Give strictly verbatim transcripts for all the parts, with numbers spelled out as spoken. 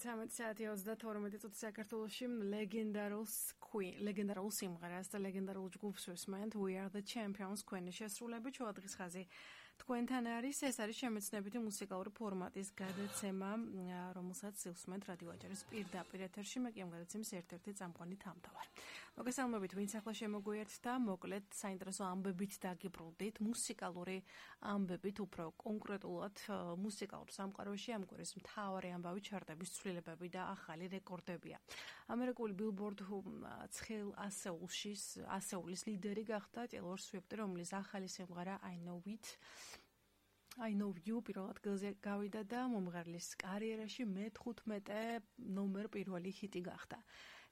ცამეტი საათი ოცდათორმეტი წუთი საქართველოში ლეგენდარულ Queen, ლეგენდარულ სიმღერას და ლეგენდარულ ჯგუფს ვისმენთ We Are The Champions Queen-ის შესრულებით შუადღის ხაზი თქვენთან არის. ეს არის შემეცნებითი მუსიკალური ფორმატის გადაცემა, რომელსაც ვისმენთ რადიო აჭარის პირდაპირ ეთერში. მე კი ამ გადაცემის ერთ-ერთი წამყვანი თავმთავარი. მოგესალმებით, ვინც ახლა შემოგვიერთდა, მოკლედ საინტერესო ამბებით დაგიბრუნდით, მუსიკალური ამბებით, უფრო კონკრეტულად მუსიკალურ სამყაროში ამ კვირის მთავარი ამბავი ჩარტების ცვლილებები და ახალი რეკორდებია. ამერიკული Billboard ცხელ ასეულში ასეულის ლიდერი გახდა Taylor Swift, რომლის ახალი სიმღერა I Know It I Know You პირველ ადგილზე გავიდა და მომღერლის კარიერაში მეთხუთმეტე ნომერ პირველი ჰიტი გახდა.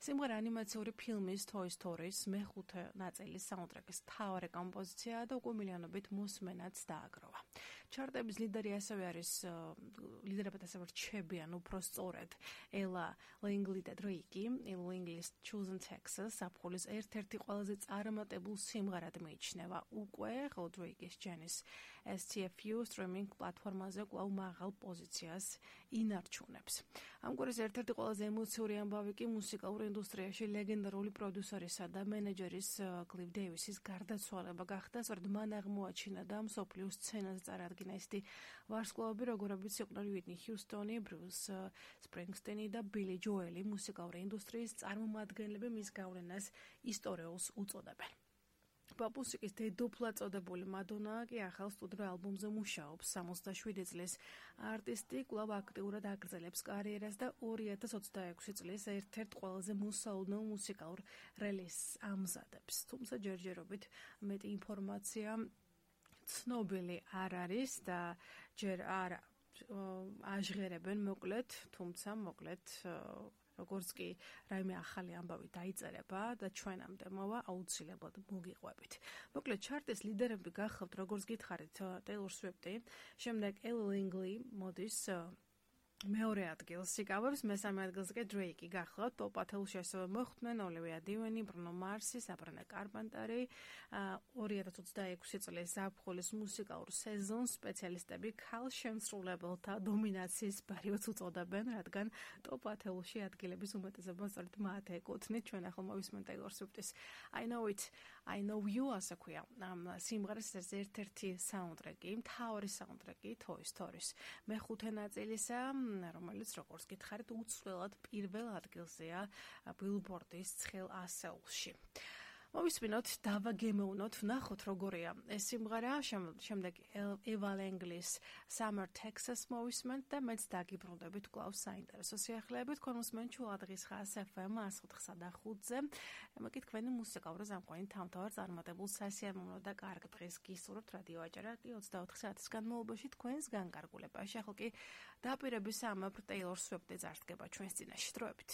სიმღერა ანიმაციური ფილმის Toy Story-ის მეხუთე ნაწილის საუნდტრეკის მთავარი კომპოზიციაა და უკვე მილიონობით მოსმენაც დააგროვა. ჩარტების ლიდერი ასევე არის ლიდერებად ასევე რჩებიან უფრო სწორედ Ella Langley და Drake. Ella Langley's Choosing Texas საფულის ერთ-ერთი ყველაზე წარმატებულ სიმღერად მიიჩნევა უკვე, ხოლო Drake-ის Janis S T F U streaming პლატფორმაზე კვლავ მაღალ პოზიციას ინარჩუნებს. ამ კვირის ერთ-ერთი ყველაზე ემოციური ამბავი კი მუსიკალურ ინდუსტრიაში ლეგენდარული პროდიუსერისა და მენეჯერის Cliff Davis-ის გარდაცვალება გახდა. სწორედ მან აღმოაჩინა და მსოფლიო სცენაზე წარადგინა ისეთი ვარსკვლავები, როგორებიც იყვნენ Whitney Houston, Bruce Springsteen და Billy Joel. მუსიკალური ინდუსტრიის წარმომადგენლები მის გავლენას ისტორიულს უწოდებენ. პოპ-მუსიკის დედოფლად წოდებული მადონა კი ახალ სტუდიურ ალბომზე მუშაობს. სამოცდაშვიდი წლის არტისტი კვლავ აქტიურად აგრძელებს კარიერას და ორი ათას ოცდაექვსი წლის ერთ-ერთ ყველაზე მოსაუდნელ მუსიკალურ რელიზს ამზადებს. თუმცა ჯერჯერობით მეტი ინფორმაცია ცნობილი არ არის და ჯერ არ აჟღერებენ მოკლედ, თუმცა მოკლედ როგორც კი რაიმე ახალი ამბავი დაიწერება და ჩვენამდე მოვა, აუცილებლად მოგიყვებით. მოკლედ ჩარტის ლიდერები გახავთ, როგორც გითხარით, Taylor Swift, შემდეგ Ella Langley მოდის მეორე ადგილს იკავებს, მესამე ადგილზე კი Drake გახლავთ. ტოპ ათეულში ასევე მოხვდნენ Olivia Deven, Bruno Mars, Sabrina Carpenter. ორი ათას ოცდაექვსი წლის ზაფხულის მუსიკალურ სეზონს სპეციალისტები ქალ შემსრულებელთა დომინაციის პერიოდს უწოდებენ, რადგან ტოპ ათეულში ადგილების უმეტესობა სწორედ მათ ეკუთვნით. ჩვენ ახლა მოვისმენთ Taylor Swift-ის I Know It, I Know You ასე ქვია. ამ სიმღერას ერთ-ერთი საუნდტრეკი, მთავარი საუნდტრეკი Toy Story-ის მეხუთე ნაწილისა, რომელიც როგორც გითხარით უცვლელად პირველ ადგილზეა Billboard-ის ცხელ ასეულში. მოვისმინოთ, დავაგემოვნოთ, ვნახოთ როგორია ეს სიმღერა, შემდეგ Ella Langley's Summer Texas მოვისმენთ და მეც დაგიბრუნდებით კვლავ საინტერესო სიახლეებით. ქონმოსმენთ შუადღის ხაზ F M εκατს ოთხსა და ხუთზე. მე კი თქვენი მუსიკალური ზამყვანი თავმთავარ წარმატებულ სასიამოვნო და კარგ დღეს გისურვებთ რადიო აჭარა ოცდაოთხ საათის განმავლობაში თქვენს განკარგულებაში. ახლა კი დაპირების ამბავ Taylor Swift-ი წარსდგება ჩვენს წინაშე. დროებით.